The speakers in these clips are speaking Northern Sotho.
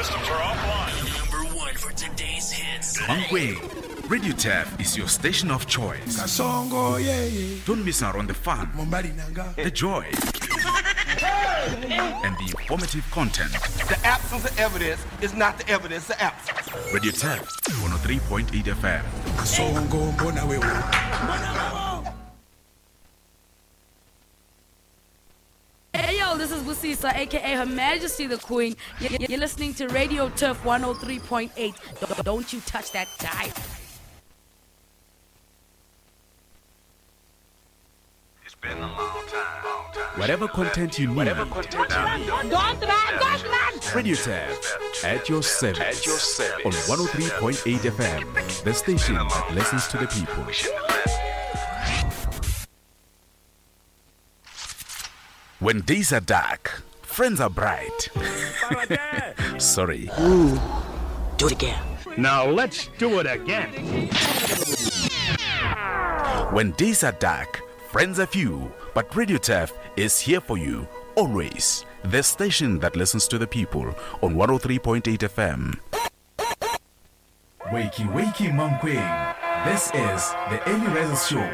systems are offline. Number one for today's hits. Mankweng, Radio Turf is your station of choice. Kasongo, yeah, yeah. Don't miss out on the fun, Mombali nanga. the joy, and the informative content. The absence of evidence is not the evidence of absence. Radio Turf, 103.8 FM. Kasongo, mbona wewe. Mbona wewe. Hey yo, this is Busisa, aka Her Majesty the Queen. You're listening to Radio Turf 103.8. Don't you touch that dial. It's been a long time. Long time. Whatever content you need, Whatever content you need. Don't run, don't run! Radio Turf at your service. At your service. On 103.8 FM, the station that listens to the people. We shouldn't have left. When days are dark, friends are bright. Sorry. Do it again. Now let's do it again. When days are dark, friends are few, but Radio Turf is here for you always. The station that listens to the people on 103.8 FM. Wakey, wakey, Mankweng. This is the Early Risers Show.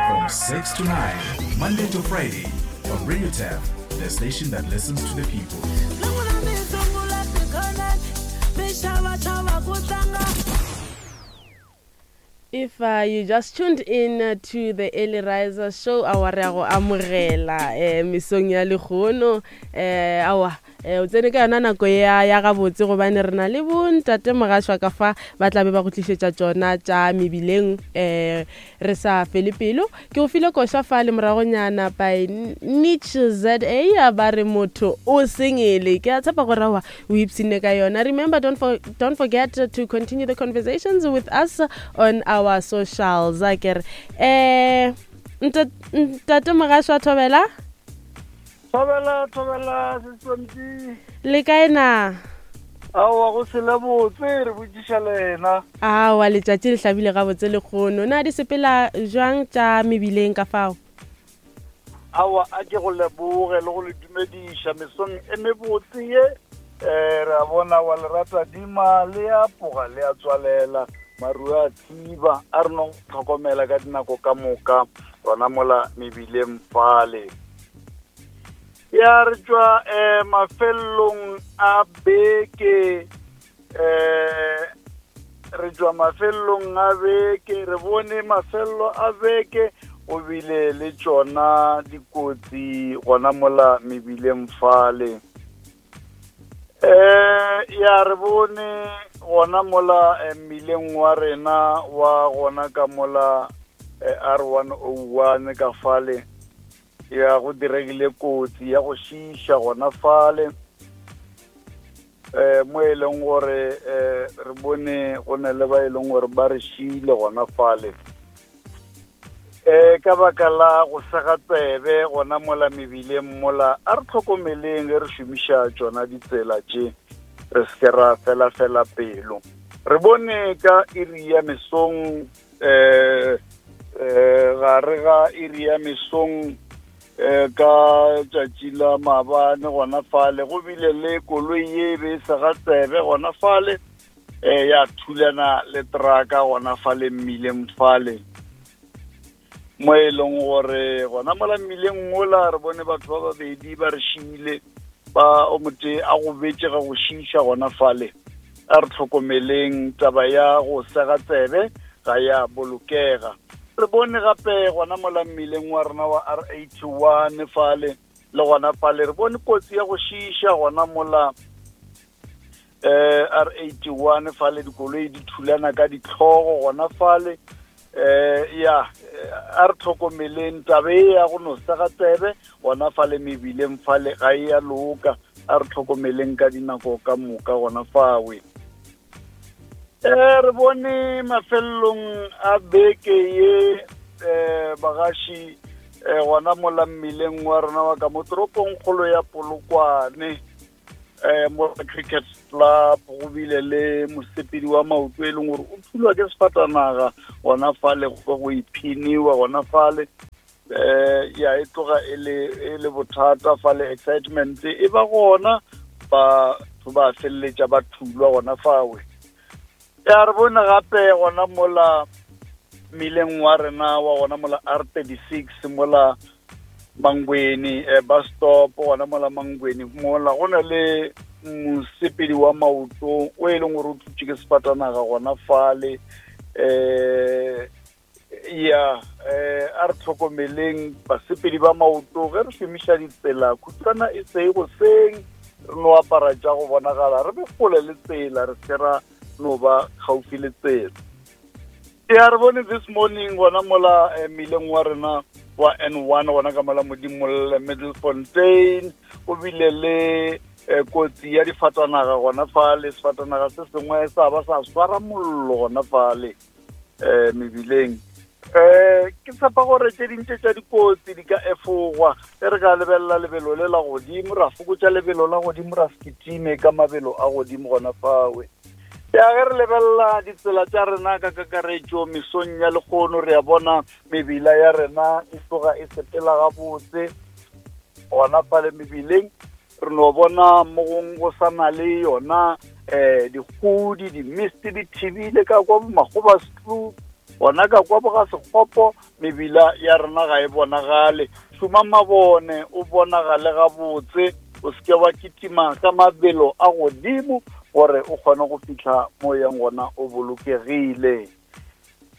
From 6 to 9, Monday to Friday, on Radio Turf, the station that listens to the people. If you just tuned in to the Early Riser Show, awa re a go amogela mesong ya lehono awa o tsene ka yona nako ya ya gabotse gobane re na le bontate mogašwa ka fa ba tla be ba go tlišetša tšona tša mebileng re sa fele pelo. Ke go file koša fa le moragonyana by Nich ZA ba re motho o sengele. Ke a tshepa gore awa o ipshinne ka yona. Remember, don't forget to continue the conversations with us on our socials. A ke re ntate mogašwa Thobela. Thobela, Thobela, Seswanti. Le kae na? Aowa, go sele botse, re botšiša lena. Aowa, letšatši le hlabile gabotse lekgono. Na di sepela jwang tša mebileng ka fao? Aowa, a ke go leboge le go le dumediša mesong e mebotse ye. Re a bona wa lerata dima le a poga le a tswalela, maru a thiba, a re nong tlhokomela ka dinako ka moka gona mola mebileng fale. Ya re tšwa mafelong a beke, re tšwa mafelong a beke, re bone mafello a beke go bile le tšona dikotsi gona mola mebileng fale. Ya re bone gona mola mmileng wa rena wa gona ka mola R101 ka fale, ya go diregile kotsi ya go šiša gona fale. Mo e leng gore re bone go ne le ba e leng gore ba re šile gona fale. Ka baka la go sega tsebe gona mola mebileng mola, a re tlhokomeleng ge re šomiša tšona ditsela tše, re se ke ra fela fela pelo. Re bone ka iri ya mesong, gare ga iri ya mesong ka tšatši la maabane gona fale, go bile le koloi ye be e sega tsebe gona fale, ya thulana le traka gona fale mmileng fale. Mo e leng gore gona mola mmileng ola re bone batho ba babedi ba re šile, ba o motee a go betše ga go šiša gona fale. A re tlhokomeleng taba ya go sega tsebe ga ya bolokega. Re bone gape gona mola mmileng wa rena wa R81 fale, le gona fale re bone kotsi ya go šiša gona mola R81 fale, dikoloi di thulana ka ditlhogo gona fale. Ya a re tlhokomeleng taba e ya go no sega tsebe gona fale mebileng fale ga e ya loka. A re tlhokomeleng ka dinako ka moka gona fawe. Re bone mafelong a beke ye bagaši gona mola mmileng wa rena wa ka mo toropong kgolo ya Polokwane, mo Cricket Club, go bile le mosepedi wa maoto e leng gore o thulwa ke sefatanaga gona fale, go go iphiniwa gona fale. Eh ya e tloga e le e le bothata fa le excitement e ba gona ba ba feleletša ba thulwa gona fawe. Ya re bone gape gona mola mmileng wa rena wa gona mola R36 mola Mangweni eh, bus stop gona mola Mangweni mola go na le mosepedi wa maoto o e leng gore o thutše ke sefatanaga gona fale eh ya eh a re tlhokomeleng basepedi ba maoto ge re šomiša ditsela khutshwana e seng goseng re no apara tša go bonagala re be kgole le tsela re se ra no ba gaufi le tsela ya re bone this morning gona mola eh, mmileng wa rena wa N1 gona ka mola Modimolle Middlefontein o bile le eh, kotsi ya difatanaga gona fale sefatanaga se sengwe sa ba sa swara mollo gona fale um mebileng um ke tshepa gore tše dintše tša dikotsi di ka efogwa ge re ka lebelela lebelo le la godimo ra fokotša lebelo la godimo ra se kitime ka mabelo a godimo gona fawe ya ge re lebelela ditsela tša rena ka kakaretšo mesong ya lekgono re a bona mebila ya rena e tloga e sepela gabotse gona fale mebileng re no bona mo gong go sa na le yona um dikgodi di-mist di thibile ka kwa bomakgoba stlu gona ka kwa boga sekgopo mebila ya rena ga e bonagale šoma mabone o bonagale gabotse o seke wa kitima ka mabelo a godimo gore o kgone go fihla mo yang gona o bolokegile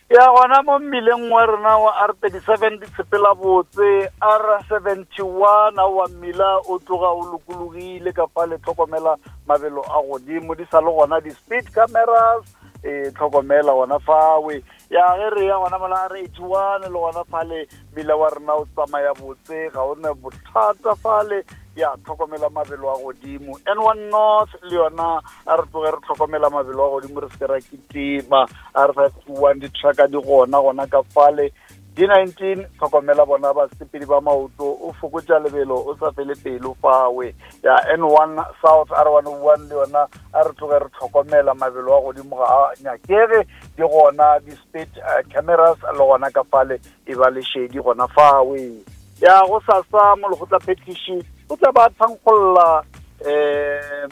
Ya gona mo mmileng wa rena wa R37 di tshepela botse, R71 wa mmila o tloga o lokologile ka fa le tlhokomela mabelo a godimo di sa le gona di-speed cameras e tlhokomela gona fawe ya ge re ya gona mola R81 le gona fale mmila wa rena o tsamaya botse ga o ne bothata fale ya tlhokomela mabelo a godimo N1 North le yona a re tloge re tlhokomela mabelo a godimo re se ke ra kitima a re 521 di-trucka di gona gona ka fale D19 tlhokomela bona basepedi ba maoto o fokotša lebelo o sa fele pelo fawe ya N1 South R101 le yona a re tloge re tlhokomela mabelo a godimo ga a nyakege di gona di-speed eh, cameras le gona ka fale e ba lešedi gona fawe ya go sasa molekgotla phetiši o tla ba thankgolla um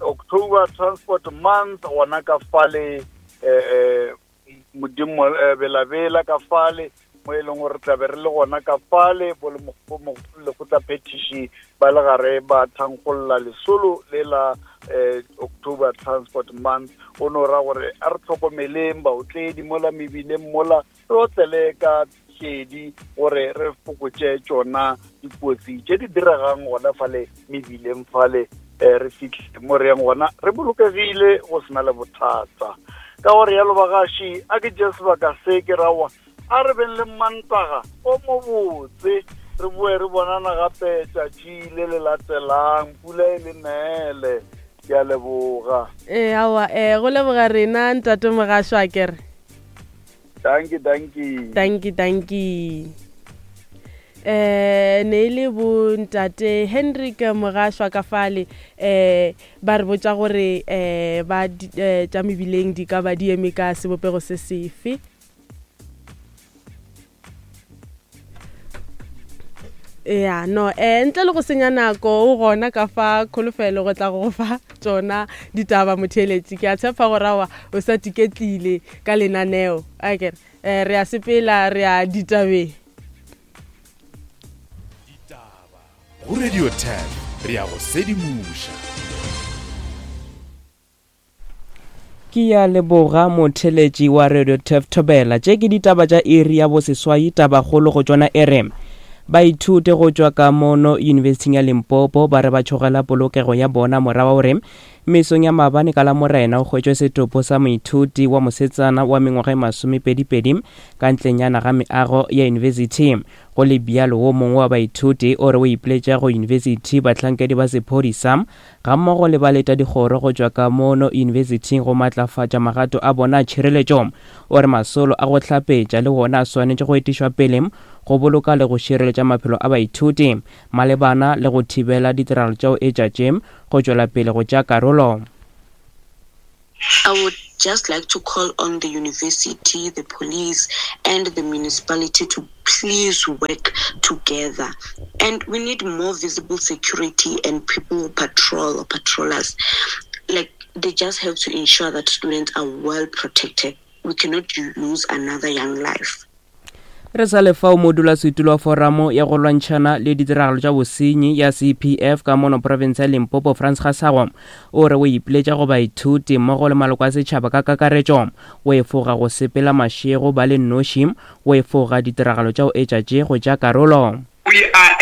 October Transport Month gona ka fale eh, modimo eh, belabela ka fale mo e leng gore tlabe re le gona ka fale bo lekgotla phetiši ba le gare ba thankgolla lesolo le la eh, October Transport Month o no ra gore a re tlhokomeleng baotledi mola mebileng mola re otlele ka šedi gore re fokotše tšona dikotsi tše di diregang gona fale mebileng fale um re fitlhe mo re yang gona re bolokegile go sena le bothata ka gore yalo bagaši a ke tše sebaka se ke rawa a re beng le mantaga o mobotse re boe re bonana gape tšatši le le latelang pula e le neele ke a leboga ee aowa um go leboga rena ntate mogašo a kere Dankie, dankie. Dankie, dankie. Eh ne e le bo ntate Hendrik Mogašwa ka fale eh ba re botša gore eh ba eh, tša mebileng di ka ba di eme ka sebopego se sefe. Ya no eh ntle le go senya nako o gona ka fa kholofelo go tla go fa tšona ditaba motheeletši ke a tshepa gore aowa o sa tiketlile ka lenaneo a kere eh, re a sepela re a ditabeng. Ditaba go Radio 10 re ya go sedimoša. Ke ya leboga motheletši wa Radio Turf Thobela. Tše ke ditaba tša iri ya boseswai tabakgolo go tšona e re baithuti go tšwa ka mono Yunibesithing ya Limpopo ba re ba tšhogela polokego ya bona morago gore mesong ya maabane ka Lamorena o hwetšwe setopo sa moithuti wa mosetsana wa mengwaga e masomepedipedi ka ntlenyana ga meago ya yunibesithi. Go le bjalo wo mongwe wa baithuti o re o ipiletša go yunibesithi, bahlankedi ba sephodisa gammogo le baletadikgoro go tšwa ka mono yunibesithing go matlafatša magato a bona a tšhireletšo. O re masolo a go hlapetša le wona a swanetše go etišwa pele go boloka le go šireletša maphelo a baithuti malebana le go thibela ditiragalo tša go etša tše go tšwela pele go tšea karolo. I would just like to call on the university, the police, and the municipality to please work together. And we need more visible security and people who patrol or patrollers. Like, they just have to ensure that students are well protected. We cannot lose another young life. Re sa le fao modulasetulo wa Foramo ya go lwantšhana le ditiragalo tša bosenyi ya CPF ka mono profense ya Limpopo Frans Gasago o re o ipiletša go baithuti mmogo le maloko a setšhaba ka kakaretšo go efoga go sepela mašego ba le noši go efoga ditiragalo tša go etša tše go tša karolo. We are.